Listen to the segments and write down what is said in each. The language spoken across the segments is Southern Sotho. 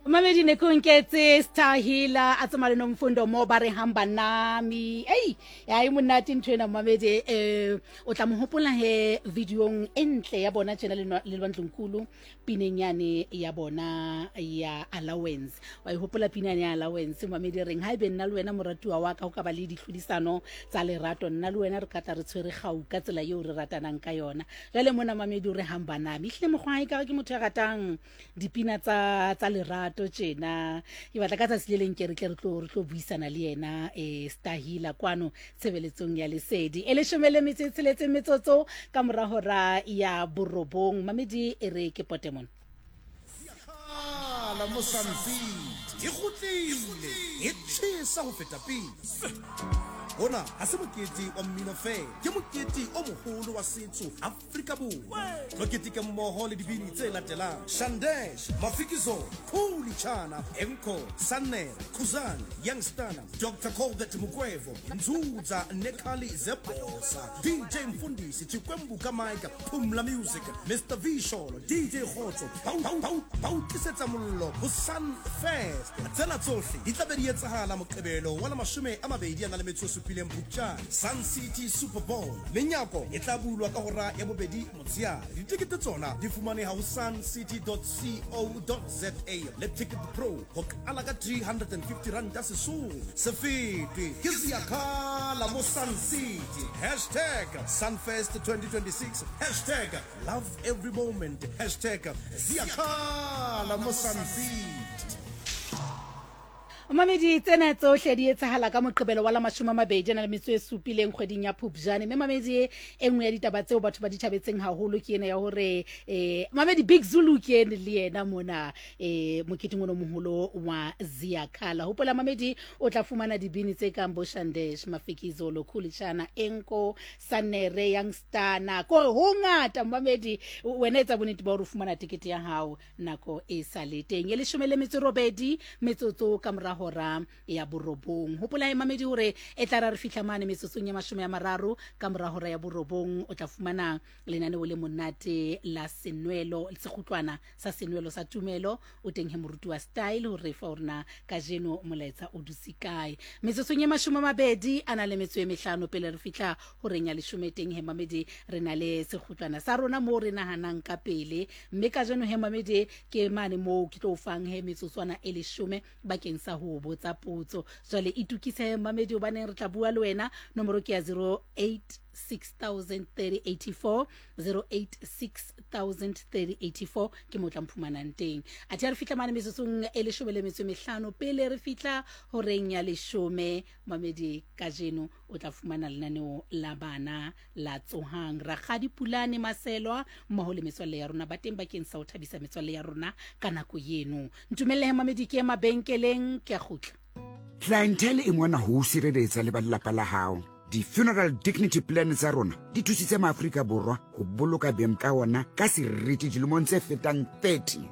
Mamedi ne ke o nketse Star Healer a tsamaya le Nomfundo mo ba re hamba nami. Ei, ya e monate ntho ena mamedi eh o tla mo hopola he videong e ntle ya bona tjena le le Lwandlunkulu pineng yane ya bona ya allowance. Wa e hopola pina ya allowance mamedi reng haebe nna le wena moratuwa wa ka ho ka ba le ditlhodisano tsa lerato nna le wena re ka tla re tshwere gau ka tsela eo re ratanang ka yona. Jwale mona mamedi o re hamba nami. Ehlile mokgwa hae ka ke motho ya ratang dipina tsa tsa lerato tjena ke batla ka tsatsi le leng ke re tle re tlo re tlo buisana le yena eh Stahila kwano tshebeletsong ya lesedi e leshome le metso e tsheletseng metsotso ka mora hora ya borobong mamedi e re ke potemon Kgala mo Sun City e kgutlile e tjhesa ho feta pele. Hona ha se mokete wa mmino feela, ke mokete o moholo wa setso Afrika Borwa. Tlo keteke mmoho le dibini tse latelang, Shandesh, Mafikizolo, Khuli Chana, Enco, Sannere, Khuzani, Youngstana, Dr Colbert Mukwevho, Nzuza Nekhali Zebhosa, DJ Mfundisi, Chikwembu ka Mike, Phumla Music, Mr V Sholo, DJ Kgotso, ba o tlisetsa mollo ho Sun Fest. Tsena tsohle di tla be di etsahala Moqebelo wa la 27 Phupjane, Sun City Super Bowl. Menyako e tla bulwa ka hora ya bobedi motsheare. Ditekete tsona di fumaneha ho suncity.co.za le Ticket Pro ho qala ka R350 sesolo. Se fetwe ke Ziyakhala mo Sun City. Hashtag Sunfest 2026, hashtag love every moment, hashtag Ziyakhala mo Sun City. Mamedi, tsena tsohle di etsahala ka Moqebelo wa la 21 a na le metso e supileng kgweding ya Phupjane. Mme mamedi, e nngwe ya ditaba tseo batho ba di thabetseng haholo ke ena ya hore eh, mamedi Big Zulu ke ene le yena mona eh, moketeng ono moholo wa Ziyakhala. Hopola mamedi, o tla fumana dibini tse kang bo Shandesh, Mafikizolo, Khulishana, Enko, Sanere, Youngstana. Kore ho ngata mamedi, wena etsa bonnete ba hore o fumana tekete ya hao nako e sa le teng e leshome le metso robedi metsotso ka mora hora ya borobong. Hopola e mamedi hore e tla ra re fihla mane metsotsong ya 30 ka mora hora ya borobong o tla fumana lenaneo le monate la senwelo sekgutlwana sa senwelo sa tumelo. O teng he moruti wa style hore fa hore na kajeno molaetsa o dutse kae. Metsotsong ya 25 a na le metso e mehlano pele re fihla horeng ya leshome teng he mamedi re na le sekgutlwana sa rona moo re nahanang ka pele. Mme kajeno he mamedi ke mane moo ke tlo o fang he metsotswana e leshome bakeng sa ho botsa potso. Jwale itokise he mamedi hobaneng re tla bua le wena. Nomoro ke ya 086 086 ke mo tla mphumanang teng. Athe ha re fihla mane metsotsong e leshome le metso e mehlano pele re fihla horeng ya leshome mamedi kajeno o tla fumana lenaneo la bana la Tsohang. Rakgadi Pulane Maselwa mmoho le metswalle ya rona ba teng bakeng sa ho thabisa metswalle ya rona ka nako eno. Ntumelle he mamedi ke ye mabenkeleng ke a kgutla. Clientele e mona ho o sireletsa le ba lelapa la hao. Di-funeral dignity plan tsa rona di thusitse Maafrika Borwa ho boloka beng ka ona ka seriti dilemong tse fetang 30.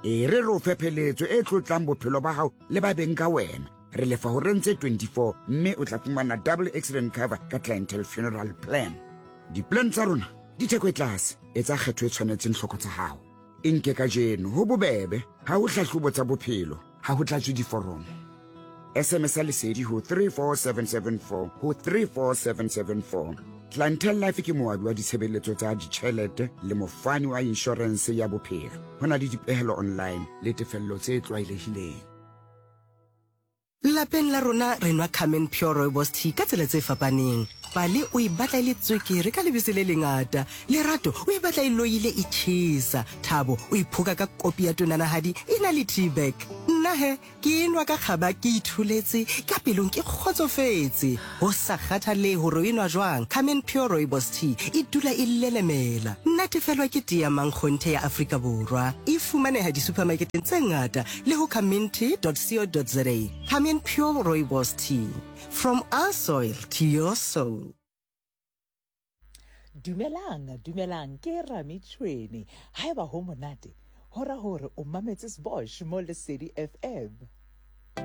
E re re o fe pheletso e tlotlang bophelo ba hao le ba beng ka wena. Re lefa horeng tse 24 mme o tla fumana double accident cover ka Clientele Funeral Plan. Di-plan tsa rona di theko e tlase, etsa kgetho e tshwanetseng tlhoko tsa hao. E nke kajeno, ho bobebe, ha ho hlahlobo tsa bophelo, ha ho tlatswe diforomo. SMS ya lesedi ho 34774 ho 34774. Clientele Life ke moabi wa ditshebeletso tsa ditjhelete le mofani wa inshorense ya bophelo. Ho na le dipehelo online le tefello tse tlwaelehileng. Lapeng la rona re nwa Carmen Pure Rooibos Tea ka tsela tse fapaneng. Pale o e batla e le tswekere ka lebese le lengata. Lerato o e batla e loile e tjhesa. Thabo o e phoka ka kopi ya tonanahadi e na le tea bag. Nna he, ke e nwa ka kgaba ke itholetse, ka pelong ke kgotsofetse. Ho sa kgathalehe hore o e nwa jwang, Carmen Pure Rooibos Tea e dula e lelemela. Natefelwa ke tee ya mankgonthe ya Afrika Borwa. E fumaneha disupermarketeng tse ngata le ho carmentea.co.za. Carmen Pure Rooibos Tea, from our soil to your soul. Dumelang, dumelang, ke Rami Tšhwene. Haeba ho monate, ho ra hore o mametse Sbosh mo Lesedi FM.